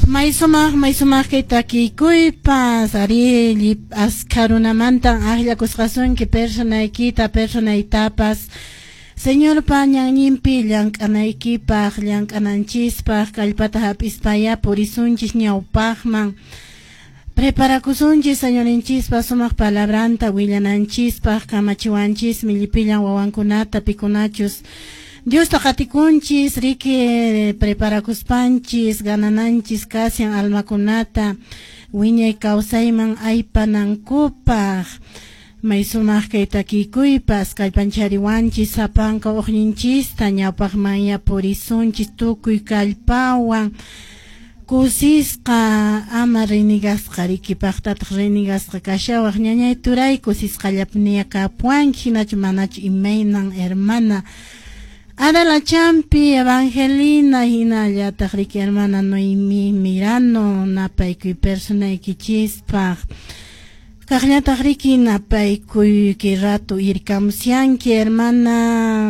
May sumaq, may sumaq kay takikuypas, arí, askha runamantan akllakusqasunki personaykita, personaytapas. Señorpa ñanninpi llank'anaykipaq, llank'ananchispaq, kallpata hap'ispaya purisunchis ñawpaqman. Preparakusunchis Señorinchispa sumaq palabranta willananchispaq, kamachiwanchismi llipillan wawankunata pikunachus Diosta qatikunchis, riki preparakuspanchis, ganananchis kashan almakunata wiñay kawsayman aypanankupaq. May sumaq kay takikuypas kallpanchariwanchis sapanka uqninchista ñawpaqmanya purisunchis tukuy kallpawan kusisqa ama renigasqa riki paqtataq renigasqa kashawaq ñañay turay kusisqallapuniya kapuanki hinachu manachu imaynan hermana Adela Champi, Evangelina, hinallataq riki hermana Noemi Mirano napaykuy personaykichispaq. Kaqllataq riki napaykuy kay rato irkamusyanki hermana.